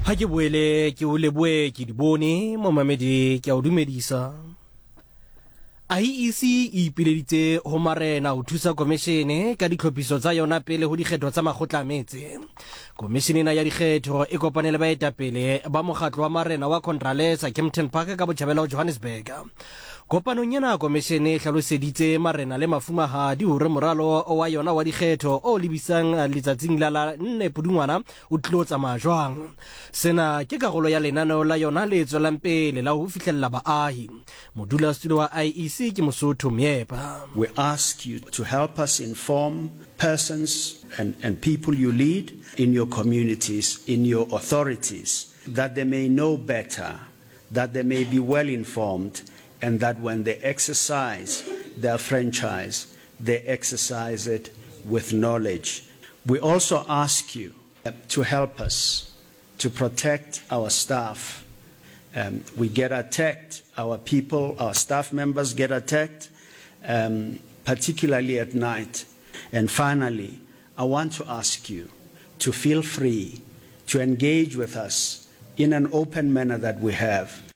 Ha ke boele ke o leboe ke di bone momamedi ke a o dumedisa. IEC e ipileditse ho marena ho thusa komishene ka ditlhophiso tsa yona pele ho dikgetho tsa makgotla a metse. Komishene ena ya dikgetho e kopane le baetapele ba mokgatlo wa marena wa Contralesa Kempton Park ka botjhabela ho Johannesburg. Kopanong ena komishene e hlaloseditse marena le mafumahadi hore moralo wa yona wa dikgetho o lebisang letsatsing la la 4 Pudungwana o tlilo tsamaya jwang. Sena ke karolo ya lenaneo la yona le tswelang pele la ho fihlella baahi. Modulasetulo wa IEC ke Mosotho Meepa. We ask you to help us inform persons and, and people you lead in your communities, in your authorities, that they may know better, that they may be well informed, and that when they exercise their franchise, they exercise it with knowledge. We also ask you to help us to protect our staff. Um, we get attacked, our people, our staff members get attacked, um, particularly at night. And finally, I want to ask you to feel free to engage with us in an open manner that we have.